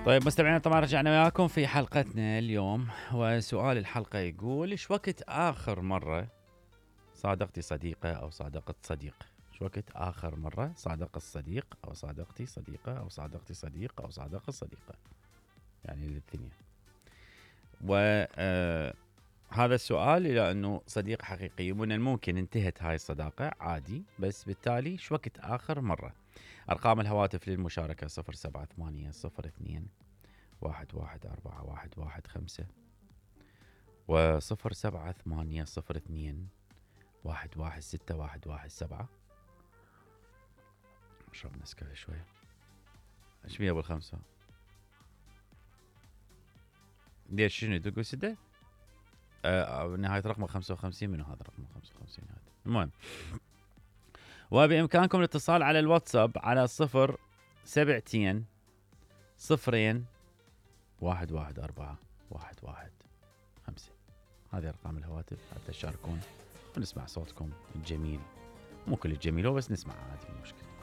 طيب مستمعينا، طبعا رجعنا وياكم في حلقتنا اليوم، وسؤال الحلقة يقول: ايش وقت آخر مرة صادقتي صديقة أو صادقت صديق؟ ايش وقت آخر مرة صادق الصديق أو صادقتي صديقة أو صادقتي صديق أو صادق الصديقة؟ يعني الاثنين. هذا السؤال إلى أنه صديق حقيقي من الممكن انتهت هاي الصداقة عادي، بس بالتالي شو وقت آخر مرة؟ أرقام الهواتف للمشاركة 078 02 1141115 و 078 02 1161117. اشرب نسكافيه شوية. ايش بيه ابو الخمسة؟ ليش شنو تقول سدة؟ نهاية رقم 55. منو هذا رقم 55 هذا؟ المهم، وبإمكانكم الاتصال على الواتساب على 072 0 114 115. هذه أرقام الهواتف حتى تشاركون ونسمع صوتكم الجميل. مو كل الجميل هو، بس نسمع عادي، مو مشكلة.